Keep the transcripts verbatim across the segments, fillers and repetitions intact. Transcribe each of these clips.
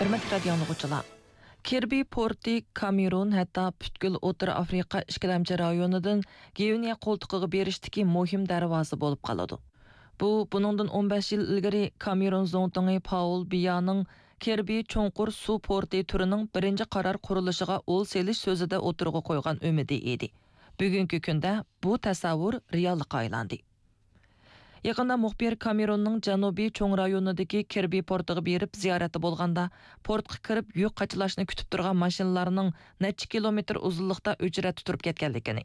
ھۆرمەتلىك رادىيو ئاڭلىغۇچىلار، كىربى پورتى كامېرون، ھەتتا پۈتكۈل ئوتتۇرا ئافرىقا ئىككىلەمچى رايونىدىن گۋىنېيە قولتۇقىغا بېرىشتىكى مۇھىم دەرۋازا بولۇپ قالىدۇ. بۇ، بۇنىڭدىن ئون بەش يىل ئىلگىرى كامېرون زۇڭتۇڭى پاۋل بىيانىڭ كىربى چوڭقۇر سۇ پورتى تۈرىنىڭ بىرىنچى قارار قۇرۇلۇشىغا ئول سېلىش سۆزىدە ئوتتۇرىغا قويغان ئۈمىدى ئىدى. بۈگۈنكى كۈندە بۇ تەسەۋۋۇر رېئاللىققا ئايلاندى. يېقىندا مۇخبىر كامېروننىڭ جەنۇبىي چوڭ رايونىدىكى كىربى پورتىغا بېرىپ زىيارەتتە بولغاندا، پورتقا كىرىپ يۈك قاچىلاشنى كۈتۈپ تۇرغان ماشىنىلارنىڭ نەچچە كىلومېتىر ئۇزۇنلۇقتا ئۆچرەتتە تۇرۇپ كەتكەنلىكىنى،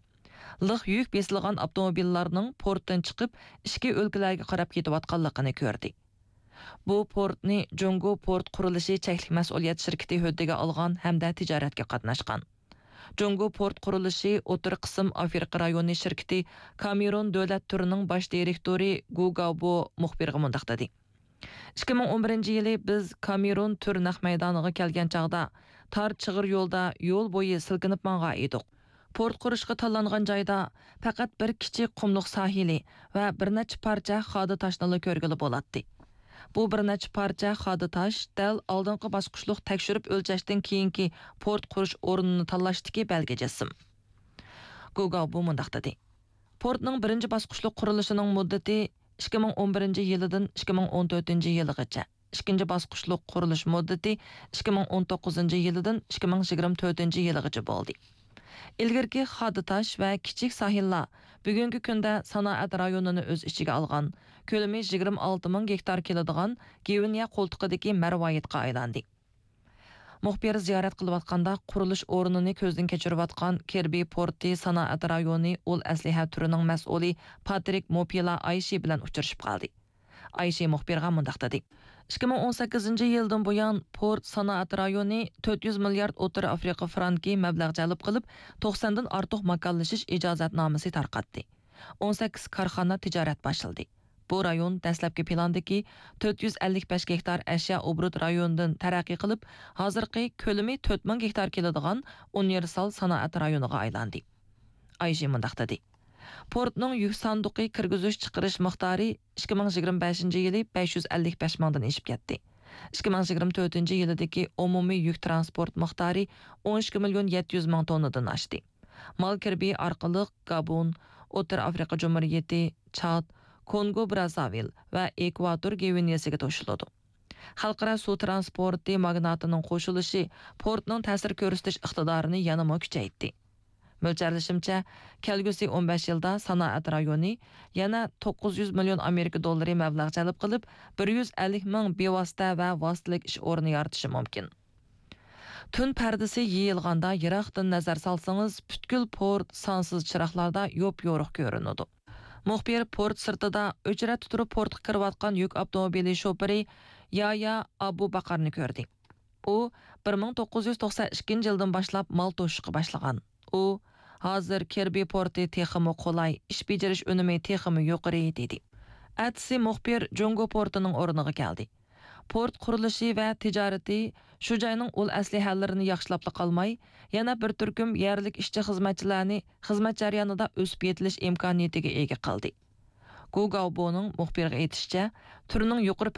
لىق يۈك بېسىلغان ئاپتوموبىللارنىڭ پورتتىن چىقىپ، ئىچكى ئۆلكىلەرگە قاراپ كېتىۋاتقانلىقىنى كۆردى. بۇ پورتنى جۇڭگو پورت قۇرۇلۇشى چەكلىك مەسئۇلىيەت شىركىتى ھۆددىگە ئالغان ھەمدە تىجارەتكە قاتناشقان. جۇڭگو پورت قۇرۇلۇشى ئوتتۇرا قىسىم ئافرىقا رايونى شىركىتى كامېرون دۆلەت تۈرىنىڭ باش دىرېكتورى گۇ گاۋبو مۇخبىرغا مۇنداق دېدى: «ئىككى مىڭ ئون بىرىنچى يىلى بىز كامېرون تۈر نەق مەيدانىغا كەلگەن چاغدا، تار چىغىر يولدا يول بويى سىلكىنىپ ماڭغان ئىدۇق. پورت قۇرۇشقا تاللانغان جايدا پەقەت بىر كىچىك قۇملۇق ساھىلى ۋە بىر نەچچە پارچە خادا تاشنىلا كۆرگىلى بولاتتى. بۇ بىر نەچچە پارچە خادا تاش دەل ئالدىنقى باسقۇچلۇق تەكشۈرۈپ ئۆلچەشتىن كېيىنكى پورت قۇرۇش ئورنىنى تاللاشتىكى بەلگە جىسىم.» گۇگاۋبو مۇنداق دېدى: «پورتنىڭ بىرىنچى باسقۇچلۇق قۇرۇلۇشىنىڭ مۇددىتى ئىككى مىڭ ئون بىرىنچى يىلىدىن ئىككى مىڭ ئون تۆتىنچى يىلىغىچە، ئىككىنچى باسقۇچلۇق قۇرۇلۇش مۇددىتى ئىككى مىڭ ئون توققۇزىنچى يىلىدىن ئىككى مىڭ يىگىرمە تۆتىنچى يىلىغىچە بولدى. ئىلگىرىكى خادا تاش ۋە كىچىك ساھىللار بۈگۈنكى كۈندە سانائەت رايونىنى ئۆز ئىچىگە ئالغان، كۆلىمى يىگىرمە ئالتە مىڭ گېكتار كېلىدىغان گۋىنېيە قولتۇقىدىكى مەرۋايىتقا ئايلاندى.» مۇخبىر زىيارەت قىلىۋاتقاندا، قۇرۇلۇش ئورنىنى كۆزدىن كەچۈرۈۋاتقان كىربى پورتى سانائەت رايونى ئۇل ئەسلىھە تۈرىنىڭ مەسئۇلى پاترىك موپىلا ئايشى بىلەن ئۇچرىشىپ قالدى. ئايشى مۇخبىرغا مۇنداق دېدى: «ئىككى مىڭ ئون سەككىزىنچى يىلدىن بۇيان، پورت سانائەت رايونى تۆت يۈز مىليارد ئوتتۇرا ئافرىقا فرانكى مەبلەغ جەلپ قىلىپ، توقساندىن ئارتۇق ماكانلىشىش ئىجازەتنامىسى تارقاتتى. ئون سەككىز كارخانا تىجارەت باشلىدى. بۇ رايون دەسلەپكى پىلاندىكى تۆت يۈز ئەللىك بەش گېكتار ئەشيا ئوبوروت رايونىدىن تەرەققىي قىلىپ، ھازىرقى كۆلىمى تۆت مىڭ گېكتار كېلىدىغان ئۇنىۋېرسال سانائەت رايونىغا ئايلاندى.» ئايشى مۇنداق دېدى: «پورتنىڭ يۈك ساندۇقى كىرگۈزۈش چىقىرىش مىقدارى ئىككى مىڭ يىگىرمە بەشىنچى يىلى بەش يۈز ئەللىك بەش مىڭدىن ئېشىپ كەتتى. ئىككى مىڭ يىگىرمە تۆتىنچى يىلىدىكى ئومۇمىي يۈك تىرانسپورت مىقدارى ئون ئىككى مىليون يەتتە يۈز مىڭ توننىدىن ئاشتى. مال كىربى ئارقىلىق گابون، ئوتتۇرا ئافرىقا جۇمھۇرىيىتى، چاد، كونگو برازاۋىل ۋە ئېكۋاتور گۋىنېيەسىگە توشۇلىدۇ.» خەلقئارا سۇ تىرانسپورتى ماگناتىنىڭ قوشۇلۇشى پورتنىڭ تەسىر كۆرسىتىش ئىقتىدارىنى يەنىمۇ كۈچەيتتى. مۆلچەرلىشىمچە، كەلگۈسى ئون بەش يىلدا سانائەت رايونى يەنە توققۇز يۈز مىليون ئامېرىكا دوللىرى مەبلەغ جەلپ قىلىپ، بىر يۈز ئەللىك مىڭ بىۋاسىتە ۋە ۋاسىتىلىك ئىش ئورنى يارىتىشى مۇمكىن. تۈن پەردىسى يېيىلغاندا، يىراقتىن نەزەر سالسىڭىز، پۈتكۈل پورت سانسىز چىراغلاردا يوپيورۇق كۆرۈنىدۇ. مۇخبىر پورت سىرتىدا ئۆچرەتتە تۇرۇپ پورتقا كىرىۋاتقان يۈك ئاپتوموبىلى شوپۇرى يايا ئابۇ باقارنى كۆردى. ئۇ بىر مىڭ توققۇز يۈز توقسان ئىككىنچى يىلدىن باشلاپ مال توشۇشقا باشلىغان. ئۇ، «ھازىر كىربى پورتى تېخىمۇ قولاي، ئىش بېجىرىش ئۈنۈمى تېخىمۇ يۇقىرى» دېدى. ئەتىسى مۇخبىر جۇڭگو پورتىنىڭ ئورنىغا كەلدى. پورت قۇرۇلۇشى ۋە تىجارىتى شۇ جاينىڭ ئۇل ئەسلىھەلىرىنى ياخشىلاپلا قالماي، يەنە بىر تۈركۈم يەرلىك ئىشچى-خىزمەتچىلەرنى خىزمەت جەريانىدا ئۆسۈپ يېتىلىش ئىمكانىيىتىگە ئىگە قىلدى. گۇ گاۋبونىڭ مۇخبىرغا ئېيتىشىچە، تۈرنىڭ يۇقىرى